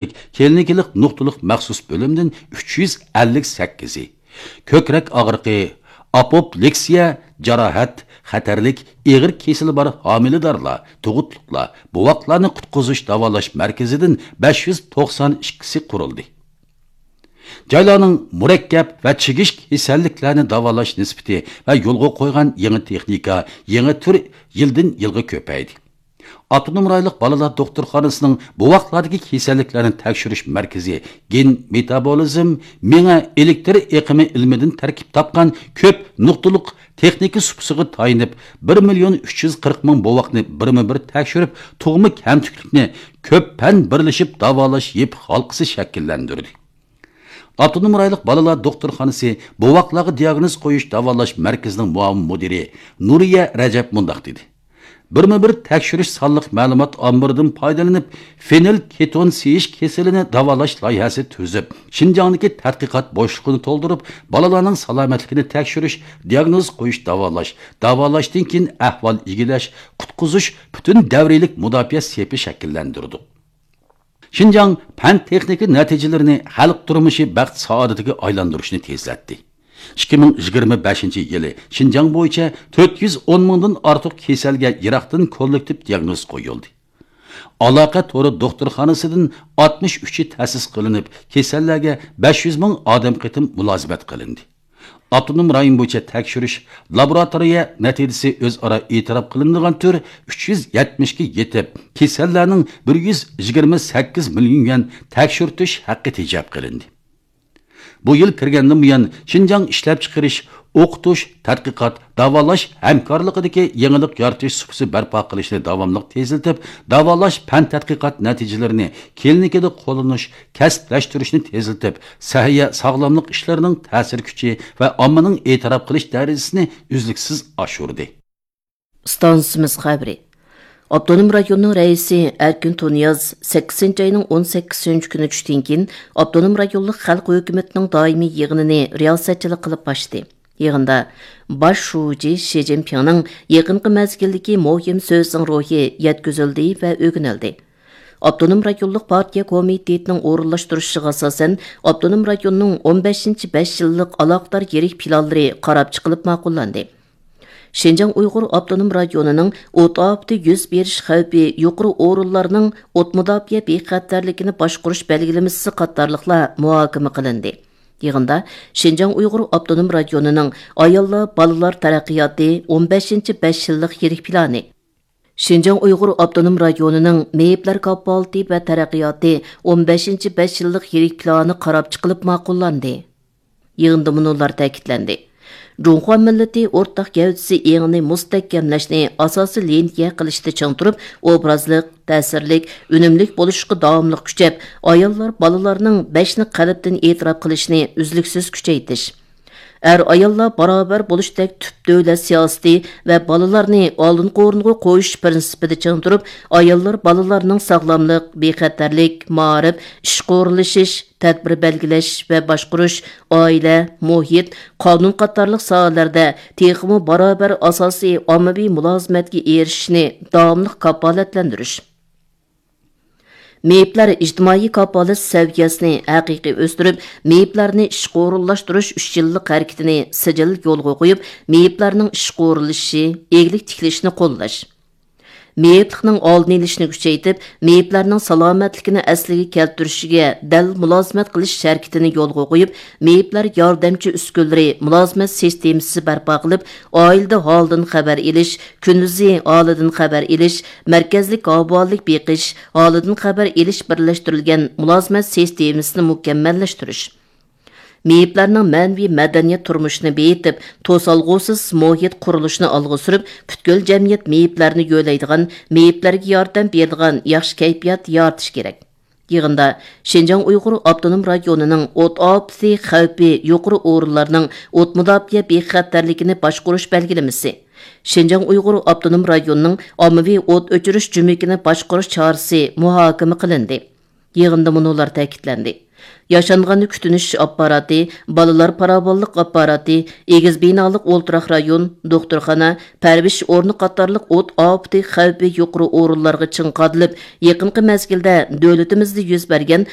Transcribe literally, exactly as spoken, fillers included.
كلىنىكىلىق نۇقتىلىق مەخسۇس بۆلۈمدىن ئۈچ يۈز ئەللىك سەككىزى، كۆكرەك ئاغرىقى، ئاپوپلېكسىيە، جاراھەت، خەتەرلىك ئېغىر كېسىلى بار ھامىلىدارلار، تۇغۇتلۇقلار، بوۋاقلارنى قۇتقۇزۇش داۋالاش مەركىزىدىن بەش يۈز توقسان ئىككىسى قۇرۇلدى. جايلارنىڭ مۇرەككەپ ۋە چىگىش كېسەللىكلەرنى داۋالاش نىسبىتى ۋە يولغا قويغان يېڭى تېخنىكا، يېڭى تۈر يىلدىن يىلغا كۆپەيدى. ئاپتونوم رايونلۇق بالىلار دوختۇرخانىسىنىڭ بوۋاقلاردىكى كېسەللىكلەرنى تەكشۈرۈش مەركىزى گېن مېتابولىزم، مېڭە ئېلېكتر ئېقىمى ئىلمىدىن تەركىب تاپقان كۆپ نۇقتىلىق تېخنىكا سۇپىسىغا تايىنىپ، بىر مىليون ئۈچ يۈز قىرىق مىڭ بوۋاقنى بىرمۇ بىر تەكشۈرۈپ، تۇغما كەمتۈكلۈكنى كۆپ پەن بىرلىشىپ داۋالاش يېپىق ھالقىسى شەكىللەندۈردى. ئاپتونوم رايونلۇق بالىلار دوختۇرخانىسى بوۋاقلارغا دىياگنوز قويۇش داۋالاش مەركىزىنىڭ مۇئاۋىن مۇدىرى نۇرىيە رەجەپ مۇنداق دېدى: بىرمۇ بىر تەكشۈرۈش سانلىق مەلۇمات ئامبىرىدىن پايدىلىنىپ، فېنىل كېتون سىيىش كېسىلىنى داۋالاش لايىھەسى تۈزۈپ، شىنجاڭدىكى تەتقىقات بوشلۇقىنى تولدۇرۇپ، بالىلارنىڭ سالامەتلىكىنى تەكشۈرۈش، دىياگنوز قويۇش، داۋالاش، داۋالاشتىن كېيىن ئەھۋال ئىگىلەش، قۇتقۇزۇش پۈتۈن دەۋرىيلىك مۇداپىئە سېپى شەكىللەندۈردۇق. شىنجاڭ پەن-تېخنىكا نەتىجىلىرىنى خەلق تۇرمۇشى بەخت-سائادىتىگە ئايلاندۇرۇشنى تېزلەتتى. ئىككى مىڭ يىگىرمە بەشىنچى يىلى شىنجاڭ بويىچە تۆت يۈز ئون مىڭدىن ئارتۇق كېسەلگە يىراقتىن كوللېكتىپ دىياگنوز قويۇلدى. ئالاقە تورى دوختۇرخانىسىدىن ئاتمىش ئۈچى تەسىس قىلىنىپ، كېسەللەرگە بەش يۈز مىڭ ئادەم قېتىم مۇلازىمەت قىلىندى. ئاپتونوم رايون بويىچە تەكشۈرۈش، لابوراتورىيە نەتىجىسى ئۆزئارا ئېتىراپ قىلىنىدىغان تۈر ئۈچ يۈز يەتمىشكە يېتىپ، كېسەللەرنىڭ بىر يۈز يىگىرمە سەككىز مىليون يۈەن تەكشۈرتۈش ھەققى تېجەپ قىلىندى. بۇ يىل كىرگەندىن بۇيان، شىنجاڭ ئىشلەپچىقىرىش، ئوقۇتۇش، تەتقىقات، داۋالاش ھەمكارلىقىدىكى يېڭىلىق يارىتىش سۇپىسى بەرپا قىلىشنى داۋاملىق تېزلىتىپ، داۋالاش پەن تەتقىقات نەتىجىلىرىنى كلىنىكىدا قوللىنىش، كەسىپلەشتۈرۈشنى تېزلىتىپ، سەھىيە، ساغلاملىق ئىشلىرىنىڭ تەسىر كۈچى ۋە ئاممىنىڭ ئېتىراپ قىلىش دەرىجىسىنى ئۈزلۈكسىز ئاشۇردى. ئىستانسىمىز خەۋىرى. ئاپتونوم رايوننىڭ رەئىسى ئەركىن تۇنىياز سەككىزىنچى ئاينىڭ ئون سەككىزىنچى كۈنى چۈشتىن كېيىن ئاپتونوم رايونلۇق خەلق ھۆكۈمىتىنىڭ دائىمىي يىغىنىنى رىياسەتچىلىك قىلىپ ئاچتى. يىغىندا باش شۇجى شى جىنپىڭنىڭ يېقىنقى مەزگىلدىكى مۇھىم سۆزىنىڭ روھى يەتكۈزۈلدى ۋە ئۆگىنىلدى. ئاپتونوم رايونلۇق پارتىيە كومىتېتىنىڭ ئورۇنلاشتۇرۇشىغا ئاساسەن، ئاپتونوم رايوننىڭ ئون بەشىنچى بەش يىللىق ئالاقىدار يىرىك پىلانلىرى قاراپ چىقىلىپ ماقۇللاندى. شىنجاڭ ئۇيغۇر ئاپتونوم رايونىنىڭ ئوت ئاپىتى يۈز بېرىش خەۋپى يۇقىرى ئورۇنلارنىڭ ئوت مۇداپىئە بىخەتەرلىكىنى باشقۇرۇش بەلگىلىمىسى قاتارلىقلار مۇھاكىمە قىلىندى. يىغىندا شىنجاڭ ئۇيغۇر ئاپتونوم رايونىنىڭ ئاياللار، بالىلار تەرەققىياتى ئون بەشىنچى بەش يىللىق يىرىك پىلانى، شىنجاڭ ئۇيغۇر ئاپتونوم رايونىنىڭ مېيىپلەر كاپالىتى ۋە تەرەققىياتى ئون بەشىنچى بەش يىللىق يىرىك پىلانى قاراپ چىقىلىپ ماقۇللاندى. يىغىندا مۇنۇلار تەكىتلەندى: جۇڭخۇا مىللىتى ئورتاق گەۋدىسى ئېڭىنى مۇستەھكەملەشنى ئاساسىي لىنىيە قىلىشتا چىڭ تۇرۇپ، ئوبرازلىق، تەسىرلىك، ئۈنۈملۈك بولۇشقا داۋاملىق كۈچەپ، ئاياللار، بالىلارنىڭ بەشنى قەلبتىن ئېتىراپ قىلىشىنى ئۈزلۈكسىز كۈچەيتىش، ئەر-ئاياللار باراۋەر بولۇشتەك تۈپ دۆلەت سىياسىتى ۋە بالىلارنى ئالدىنقى ئورۇنغا قويۇش پىرىنسىپىدا چىڭ تۇرۇپ، ئاياللار، بالىلارنىڭ ساغلاملىق، بىخەتەرلىك، مائارىپ، ئىشقا ئورۇنلىشىش، تەدبىر بەلگىلەش ۋە باشقۇرۇش، ئائىلە، مۇھىت، قانۇن قاتارلىق ساھەلەردە تېخىمۇ باراۋەر ئاساسىي ئاممىۋى مۇلازىمەتكە ئېرىشىشنى داۋاملىق كاپالەتلەندۈرۈش. مېيىپلەر ئىجتىمائىي كاپالەت سەۋىيەسىنى ھەقىقىي ئۆستۈرۈپ، مېيىپلەرنى ئىشقا ئورۇنلاشتۇرۇش ئۈچ يىللىق ھەرىكىتىنى سىجىل يولغا قويۇپ، مېيىپلەرنىڭ ئىشقا ئورۇنلىشىشى، ئىگىلىك تىكلىشىنى قوللاش. مېيىپلىقنىڭ ئالدىنى ئېلىشنى كۈچەيتىپ، مېيىپلەرنىڭ سالامەتلىكىنى ئەسلىگە كەلتۈرۈشىگە دەل مۇلازىمەت قىلىش ھەرىكىتىنى يولغا قويۇپ، مېيىپلەر ياردەمچى ئۈسكۈنىلىرى مۇلازىمەت سىستېمىسى بەرپا قىلىپ، ئائىلىدە ھالىدىن خەۋەر ئېلىش، كۈندۈزى ھالىدىن خەۋەر ئېلىش، مەركەزلىك ئاۋۇئاللىق بېقىش، ھالىدىن خەۋەر ئېلىش بىرلەشتۈرۈلگەن مۇلازىمەت سىستېمىسىنى مۇكەممەللەشتۈرۈش. مېيىپلەرنىڭ مەنىۋى مەدەنىيەت تۇرمۇشىنى بېيىتىپ، توسالغۇسىز مۇھىت قۇرۇلۇشىنى ئالغا سۈرۈپ، پۈتكۈل جەمئىيەت مېيىپلەرنى يۆلەيدىغان، مېيىپلەرگە ياردەم بېرىدىغان ياخشى كەيپىيات يارىتىش كېرەك. يىغىندا شىنجاڭ ئۇيغۇر ئاپتونوم رايونىنىڭ ئوت ئاپىتى خەۋپى يۇقىرى ئورۇنلارنىڭ ئوت مۇداپىئە بىخەتەرلىكىنى باشقۇرۇش بەلگىلىمىسى، شىنجاڭ ئۇيغۇر ئاپتونوم رايونىنىڭ ئاممىۋى ئوت ئۆچۈرۈش جۈمىكىنى باشقۇرۇش چارىسى مۇھاكىمە قىلىندى. يىغىندا مۇنۇلار تەكىتلەندى: ياشانغاننى كۈتۈنۈش ئاپپاراتى، بالىلار پاراۋانلىق ئاپپاراتى، ئېگىز بىنالىق ئولتۇراق رايون، دوختۇرخانا، پەرۋىش ئورنى قاتارلىق ئوت ئاپىتى خەۋپى يۇقىرى ئورۇنلارغا چىڭ قادىلىپ، يېقىنقى مەزگىلدە دۆلىتىمىزدە يۈز بەرگەن